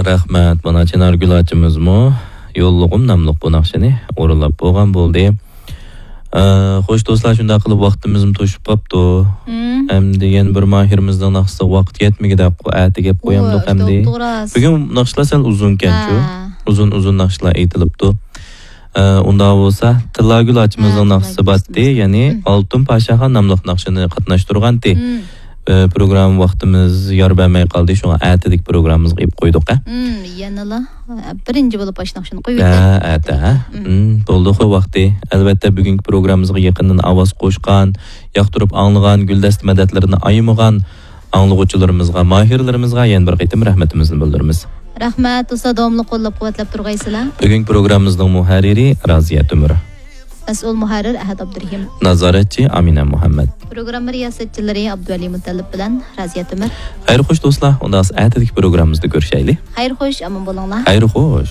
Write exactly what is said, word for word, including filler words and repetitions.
رەھمەت. مانا چىنارگۈل ئاچىمىزمۇ يوللىغۇم ناملىق بۇ ناخشىنى ئورۇنلاپ بولغان بولدى. ئە، خوش دوستلار، شۇنداق قىلىپ ۋاقتىمىزمۇ توشۇپ قاپتۇ. مم. ئەمدى يەنە بىر ماھىرىمىزنىڭ ناخشىسىغا ۋاقىت يەتمىگۈدەك، ئۇ ئەتىگە قويۇپ قويامدۇق ئەمدى. توغرا. بۈگۈن ناخشىلار سەل ئۇزۇنكەنچۇ. ھە. ئۇزۇن، ئۇزۇن ناخشىلار ئېيتىلىپتۇ. ئە، ئۇنداق بولسا، تىللاگۈل ئاچىمىزنىڭ ھە، ناخشىسى تىللاگۈل باتتى، ئاچىمىز. يەنى مم. ئالتۇن پاشاخان ناملىق ناخشىنى قاتناشتۇرغانتى. مم. ئە، پروگرامما ۋاقتىمىز يار بەرمەي قالدى، شۇڭا ئەتىدىكى پروگراممىمىزغا ئېلىپ قويدۇق، ھە؟ مم، يەنىلا، ئە، بىرىنچى بولۇپ ئاشۇ ناخشىنى قويۇۋېتەي. ھە، ئەتە، ھە؟ مم. مم، بولدى، خو ۋاقتى. ئەلۋەتتە، بۈگۈنكى پروگراممىمىزغا يېقىندىن ئاۋاز قوشقان، ياقتۇرۇپ ئاڭلىغان، گۈلدەستە مەدەتلىرىنى ئايىمىغان ئاڭلىغۇچىلىرىمىزغا، ماھىرلىرىمىزغا يەنە بىر قېتىم رەھمىتىمىزنى بىلدۈرىمىز. رەھمەت، دوستلار، داۋاملىق قوللاپ-قۇۋۋەتلەپ تۇرغايسىلەر. بۈگۈنكى پروگراممىمىزنىڭ مۇھەررىرى رازىيە تۆمۈر. مەسئۇل مۇھەررىر ئەھەت ئابدۇرېھىم. نازارەتچى ئامىنە مۇھەممەد. پروگرامما رىياسەتچىلىرى ئابدۇۋەلى مۇتەللىپ بىلەن رازىيە تۆمۈر. خەير خوش دوستلار، ئۇنداق ئەتىدىكى پروگراممىمىزدا كۆرۈشەيلى. خەير خوش، ئامان بولۇڭلار. خەير خوش.